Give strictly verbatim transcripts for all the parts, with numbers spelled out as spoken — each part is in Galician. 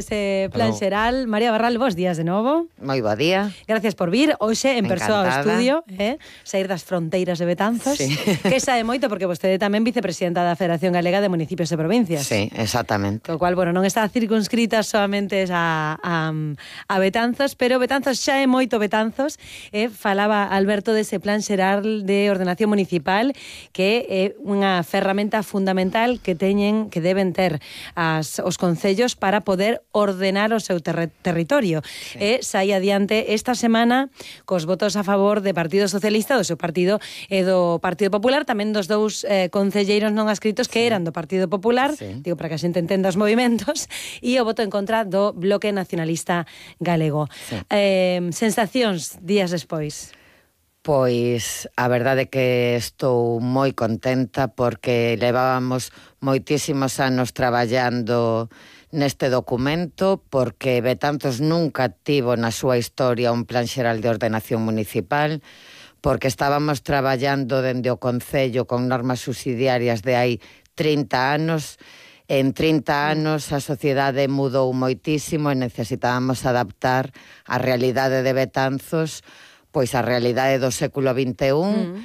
Ese plan Hello. xeral. María Barral, bos días de novo. Moi bo día. Gracias por vir hoxe en persoa ao Encantada. estudio, eh? Sair das fronteiras de Betanzos, Sí. que sae moito porque vostede tamén vicepresidenta da Federación Galega de Municipios e Provincias. Sí, exactamente. Co cual, bueno, non está circunscrita solamente a, a, a Betanzos, pero Betanzos xa é moito Betanzos. Eh? Falaba Alberto dese plan xeral de ordenación municipal, que é unha ferramenta fundamental que teñen, que deben ter as, os concellos para poder ordenar o seu ter territorio. Sí. E sai adiante esta semana cos votos a favor de Partido Socialista, do seu partido e do Partido Popular, tamén dos dous eh, concelleiros non adscritos que sí. eran do Partido Popular, sí. digo, para que a xente entenda os movimentos, e o voto en contra do Bloque Nacionalista Galego. Sí. Eh, sensacións días despois? Pois a verdade é que estou moi contenta porque levábamos moitísimos anos traballando neste documento, porque Betanzos nunca tivo na súa historia un plan xeral de ordenación municipal, porque estábamos traballando dende o Concello con normas subsidiarias de hai trinta anos. En trinta anos a sociedade mudou moitísimo e necesitábamos adaptar a realidade de Betanzos pois a realidade do século vinte e un, mm.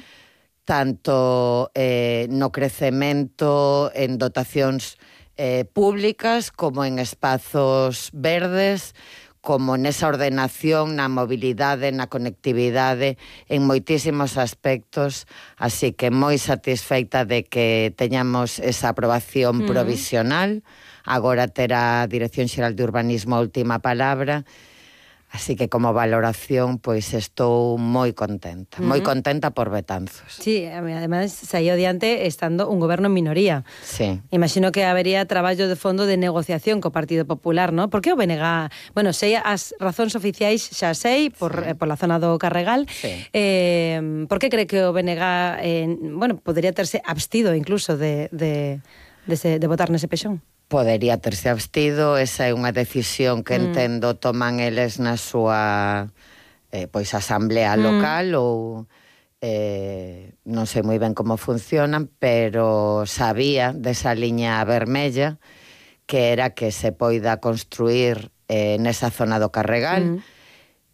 tanto eh, no crecemento, en dotacións eh, públicas, como en espazos verdes, como nesa ordenación, na mobilidade, na conectividade, en moitísimos aspectos, así que moi satisfeita de que teñamos esa aprobación mm. provisional. Agora terá a Dirección Xeral de Urbanismo a última palabra. Así que como valoración, pois estou moi contenta, moi contenta por Betanzos. Sí, además saiu adiante estando un goberno en minoría. Sí. Imagino que habería traballo de fondo de negociación co Partido Popular, ¿no? Por que o B N G, bueno, sei as razóns oficiais xa sei, por, sí. eh, por la zona do Carregal, sí. eh, por que cree que o B N G, eh, bueno, podría terse abstido incluso de, de, de, se, de votar nese pexón? Podería terse abstido, esa é unha decisión que mm. entendo toman eles na súa eh, pois asamblea local mm. ou eh, non sei moi ben como funcionan, pero sabía desa liña vermella que era que se poida construir eh, nesa zona do Carregal. Mm.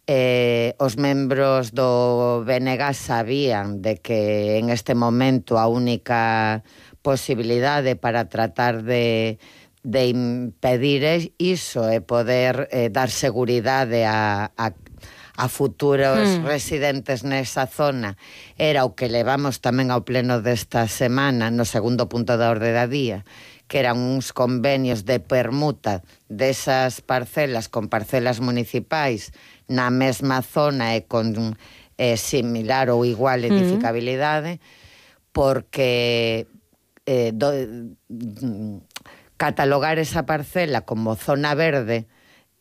Eh, os membros do B N G sabían de que en este momento a única posibilidade para tratar de de impedir iso e poder eh, dar seguridade a, a, a futuros mm. residentes nesa zona era o que levamos tamén ao pleno desta semana no segundo punto da orde da día, que eran uns convenios de permuta desas parcelas con parcelas municipais na mesma zona e con eh, similar ou igual edificabilidade, mm. porque eh, do, catalogar esa parcela como zona verde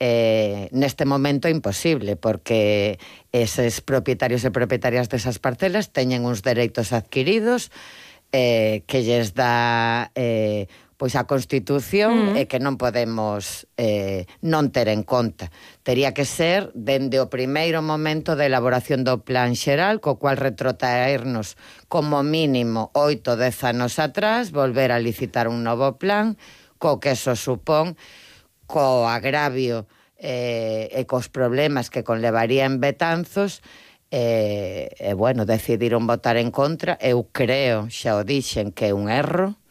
eh, neste momento é imposible, porque eses propietarios e propietarias desas parcelas teñen uns dereitos adquiridos eh, que lles dá eh, pois a Constitución mm. e que non podemos eh, non ter en conta. Tería que ser dende o primeiro momento de elaboración do plan xeral, co cual retrotraernos como mínimo oito, dez anos atrás, volver a licitar un novo plan, co que eso supón, co agravio eh, e cos problemas que conlevaría en Betanzos, e, eh, eh, bueno, decidiron votar en contra. Eu creo, xa o dixen, que é un erro,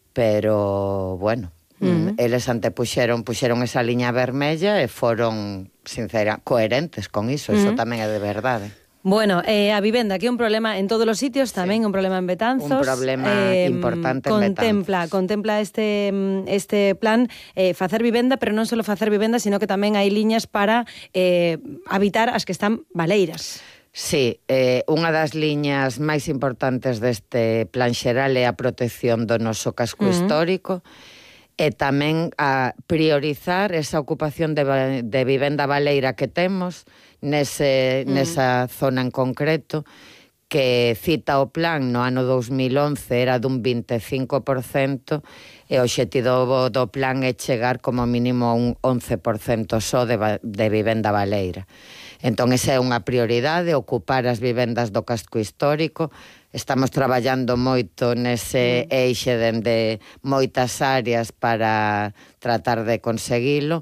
pero, bueno, mm. eles antepuxeron, puxeron esa liña vermella e foron, sincera, coherentes con iso, mm. iso tamén é de verdade. Bueno, eh, a vivenda, que é un problema en todos os sitios, tamén sí. un problema en Betanzos. Un problema eh, importante contempla, en Betanzos. Contempla este, este plan eh, facer vivenda, pero non só facer vivenda, sino que tamén hai liñas para eh, habitar as que están baleiras. Sí, eh, unha das liñas máis importantes deste plan xeral é a protección do noso casco uh-huh. histórico, e tamén a priorizar esa ocupación de, de vivenda baleira que temos nese, mm. nesa zona en concreto, que cita o plan no ano dos mil once era dun vinte e cinco por cento, e o obxectivo do plan é chegar como mínimo a un once por cento só de, de vivenda baleira. Entón, esa é unha prioridade, ocupar as vivendas do casco histórico. Estamos traballando moito nese eixe dende moitas áreas para tratar de conseguilo.